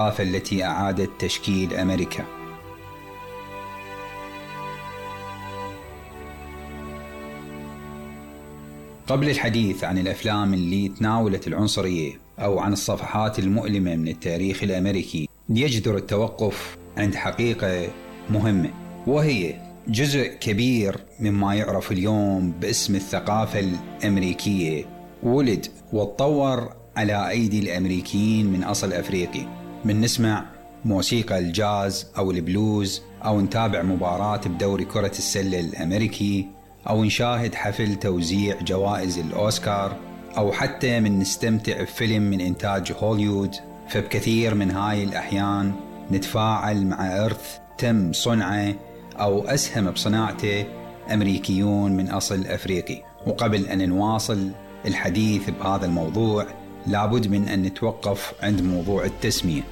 الثقافة التي أعادت تشكيل أمريكا. قبل الحديث عن الأفلام اللي تناولت العنصرية أو عن الصفحات المؤلمة من التاريخ الأمريكي، يجدر التوقف عند حقيقة مهمة، وهي جزء كبير مما يعرف اليوم باسم الثقافة الأمريكية ولد وتطور على أيدي الأمريكيين من أصل أفريقي. من نسمع موسيقى الجاز أو البلوز، أو نتابع مباراة بدوري كرة السلة الأمريكي، أو نشاهد حفل توزيع جوائز الأوسكار، أو حتى من نستمتع بفيلم من إنتاج هوليوود. فبكثير من هاي الأحيان نتفاعل مع إرث تم صنعه أو أسهم بصناعته أمريكيون من أصل أفريقي. وقبل أن نواصل الحديث بهذا الموضوع لابد من أن نتوقف عند موضوع التسمية.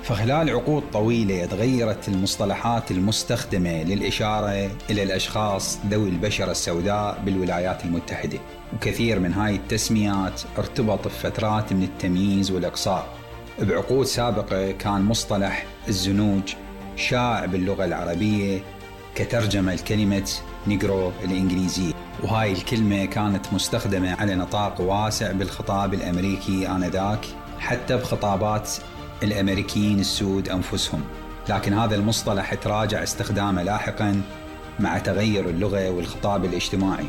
فخلال عقود طويلة تغيرت المصطلحات المستخدمة للإشارة إلى الأشخاص ذوي البشرة السوداء بالولايات المتحدة، وكثير من هاي التسميات ارتبط بفترات من التمييز والإقصاء. بعقود سابقة كان مصطلح الزنوج شائع باللغة العربية كترجمة الكلمة نيجرو الإنجليزية، وهاي الكلمة كانت مستخدمة على نطاق واسع بالخطاب الأمريكي آنذاك، حتى بخطابات الأمريكيين السود أنفسهم. لكن هذا المصطلح تراجع استخدامه لاحقا مع تغير اللغة والخطاب الاجتماعي،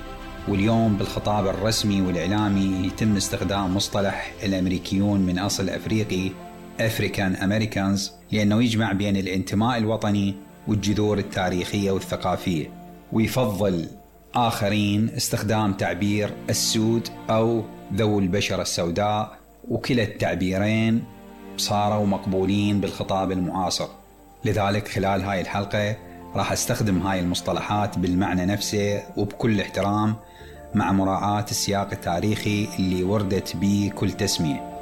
واليوم بالخطاب الرسمي والإعلامي يتم استخدام مصطلح الأمريكيون من أصل أفريقي African Americans، لأنه يجمع بين الانتماء الوطني والجذور التاريخية والثقافية. ويفضل آخرين استخدام تعبير السود أو ذو البشرة السوداء، وكلا التعبيرين صاروا مقبولين بالخطاب المعاصر. لذلك خلال هاي الحلقة راح استخدم هاي المصطلحات بالمعنى نفسه وبكل احترام، مع مراعاة السياق التاريخي اللي وردت به كل تسمية.